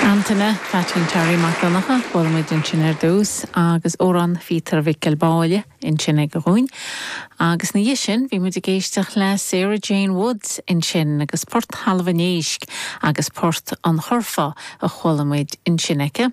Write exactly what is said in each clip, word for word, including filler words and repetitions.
Antaine Pheaitín Terry Mac Donncha chuala muid ansin ar dtús agus amhrán Phíotair Mhicil Báille ansin aige dhúinn. Agus ina dhiaidh sin bhí muid ag éisteacht le Sarah Jane Woods ansin agus Port Thalamh an Éisc agus Port an Churfá a chuala muid ansin aici.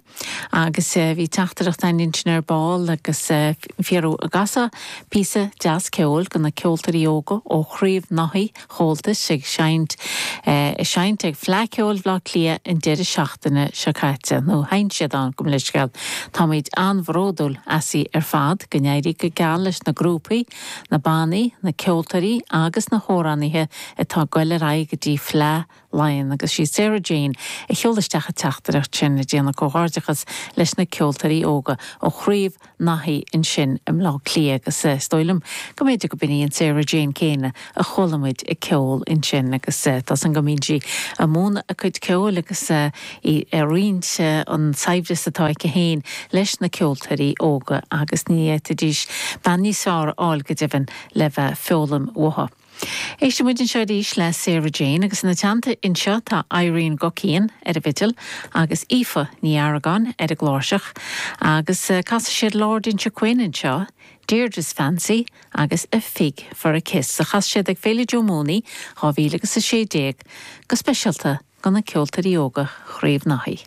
Agus uh, bhí teachtaireacht ansin ar ball agus uh, fiú ag casadh píosa deas ceoil do na ceoltóirí óga ó Chraobh Naithí Chomhaltais ag seinnt uh, seinnt ag Fleadh Cheoil Bhaile Átha Cliath an deireadh seachtaine seo caite nó sheinn siad ann gabh mo leithscéal. Táimid an-bhródúil asaibh ar fad go n-éirí go geal leis na grúpaí, na bannaí, na ceoltóirí agus na hamhránaithe atá ag goil ar aghaidh go dtí Fleadh Laighean agus sí Sarah Jane a sheol isteach an teachtaireacht sin ag déanamh comhghairdeachas leis na ceoltóirí óga ó Chraobh Naithí ansin i mBleá Cliath agus is dóigh liom go mb'fhéidir go b'in í an Sarah Jane céanna a chuala muid ag ceol ansin agus tá san go mbíonn sí ag múineadh a cuid ceoil agus í ag roinnt an saibhreas atá aici féin leis na ceoltóirí óga agus ní fhéadfaidís bean níos fearr a fháil go deimhin le bheith ag foghlaim uaithi. Éistfidh muid anseo arís le Sarah Jane agus ina teannta anseo tá Irene Guckian ar an bhfidil agus Aoife Ní Argáin ar an gcláirseach agus casfaidh siad Lord Inchiquin anseo, Deirdre's Fancy agus a Fig for a Kiss a chas siad ag Féile Joe Mooney dhá mhíle agus a sé déag go speisialta do na ceoltóirí óga Chraobh Naithí.